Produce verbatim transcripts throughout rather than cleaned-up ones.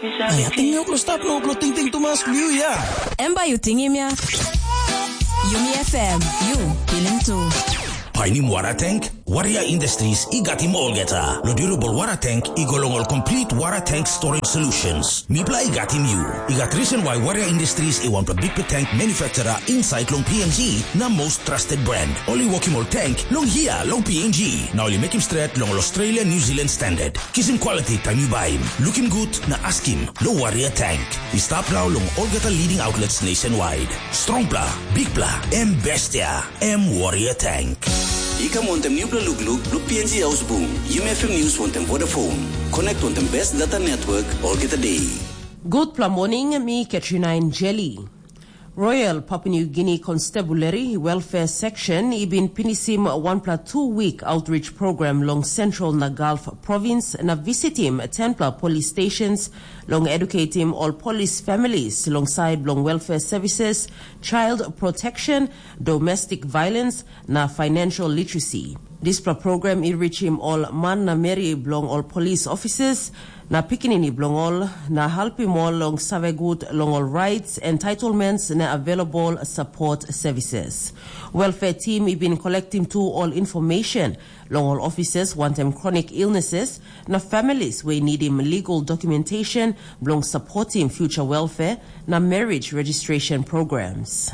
Ai, ating mi uplo stap no uplo ting ting tumas liu ya. Em bai yu tingim ya. Yumi F M, yu pilim tu. Painim wara tank? Warrior Industries i gatim olgeta. Lo durable wara tank i go long ol complete wara tank storage solutions. Mipla i gatim yu. I gat reason why Warrior Industries i wan big tank manufacturer inside long P N G na most trusted brand. Oli wokim ol tank long hia long P N G. Na oli mekim stret long ol Australia New Zealand standard. Kisim quality taim yu baim. Lukim gut na askim, no Warrior Tank. I stap nau long olgeta leading outlets nationwide. Strongpla, bigpla, em bestia, em Warrior Tank. I kam wantem nupela lukluk blo P N G Haus Bung, Yumi F M News wantem Vodafone. Connect wantem best data network olgeta day. Gutpela morning, mi Katrina Jeli. Royal Papua New Guinea Constabulary Welfare Section i bin pinisim wanpela tu wik outreach program long Central na Gulf Province na visitim tenpela police stations long educatim ol police families long side bilong welfare services, child protection, domestic violence na financial literacy. Dispela program i richim ol man na meri bilong ol police officers na pikinini bilong ol, na helpim ol long save gut long ol rights, entitlements na available support services. Welfare team i bin collectim tu ol information long ol officers wantem chronic illnesses na families wey nidim legal documentation bilong supportim future welfare na marriage registration programs.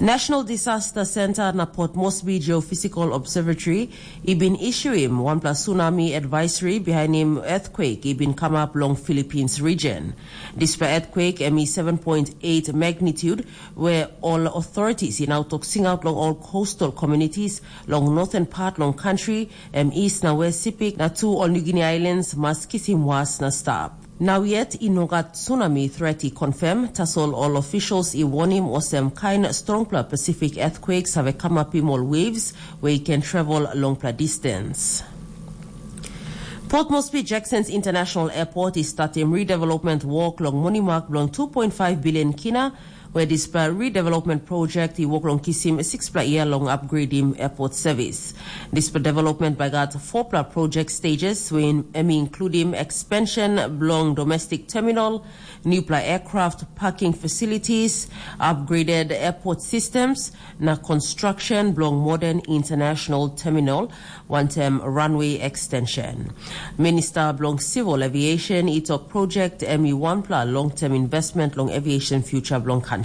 National Disaster Center na Port Moresby Geophysical Observatory i bin issuim wanpela tsunami advisory bihainim earthquake i bin kamap long Philippines region. Dispela earthquake em i seven point eight magnitude, where all authorities i nau tok singaut long all coastal communities long northern part long country, em east na west Sipik na tu ol New Guinea Islands mas kisim was na stap. Nau yet i no gat tsunami threat i confirm, tasol ol officials i warnim olsem kain strongpela Pacific earthquake save kamapim ol waves we i ken travel longpela distance. Port Moresby Jackson's International Airport i statim redevelopment work long monimak bilong two point five billion kina, where dispela redevelopment project i work long kisim sixpela year long upgrading airport service. Dispela development by got fourpela project stages, when em including expansion belong domestic terminal, newpela aircraft parking facilities, upgraded airport systems, na construction belong modern international terminal, wantem runway extension. Minister bilong Civil Aviation i tok project em i wanpela long-term investment long aviation future bilong country.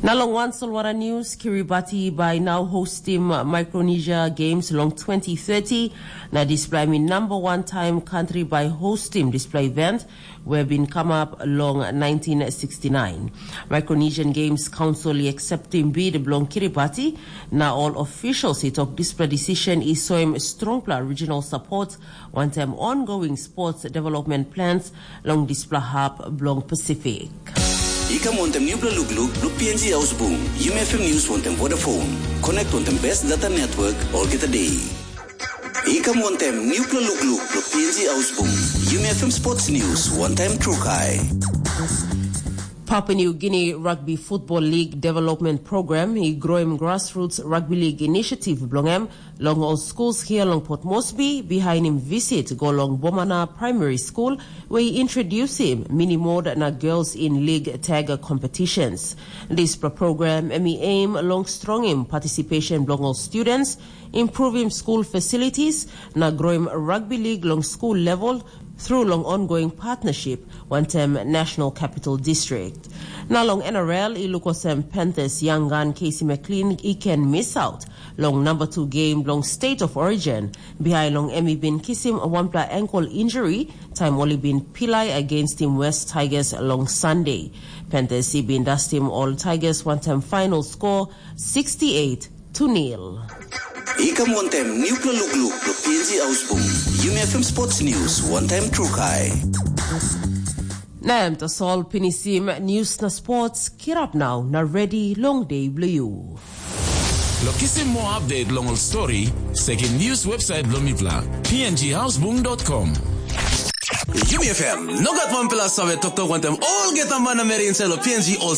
Na long wan solwara news, Kiribati by now hostim Micronesia Games long twenty thirty, na dispela em i number one time country by hostim dispela event, we bin come up long nineteen sixty-nine. Micronesian Games Council i acceptim bid bilong Kiribati, na all officials i tok dispela decision i soim strongpela regional support wantem ongoing sports development plans long dispela hap bilong Pacific. I kam wantem newpela lukluk blo P N G Haus Bung, Yumi F M News wantem Vodafone. Connect wantem best data network olgeta day. I kam wantem newpela lukluk blo P N G Haus Bung, Yumi F M Sports News wantem Trukai. Papua New Guinea Rugby Football League Development Program i groim Grassroots Rugby League Initiative bilong em long ol schools here long Port Moresby, bihainim visit go long Bomana Primary School, where i introdusim mini mode na girls in league tag competitions. Dispela program em i aim long strongim participation bilong ol students, improvim school facilities, na groim rugby league long school level through long ongoing partnership wantem National Capital District. Na long N R L i luk olsem Panthers young gun Casey McLean i ken miss out long number two game long State of Origin, behind long em i bin kisim wanpela ankle injury time oli bin pilai against him West Tigers long Sunday. Panthers i bin dustim ol Tigers wantem final score sixty-eight to nil. I kam wantem newpela lukluk blo P N G Haus Bung, Yumi F M Sports News wantem Trukai. Na em tasol pinisim news na sports, kirap nau na ready long day blo you. Lo kisim more update long ol story, sekim news website blo mipla, P N G hausbung dot com. Yumi F M, no gat wanpela save toktok wantem olgeta man na meri inside lo P N G ol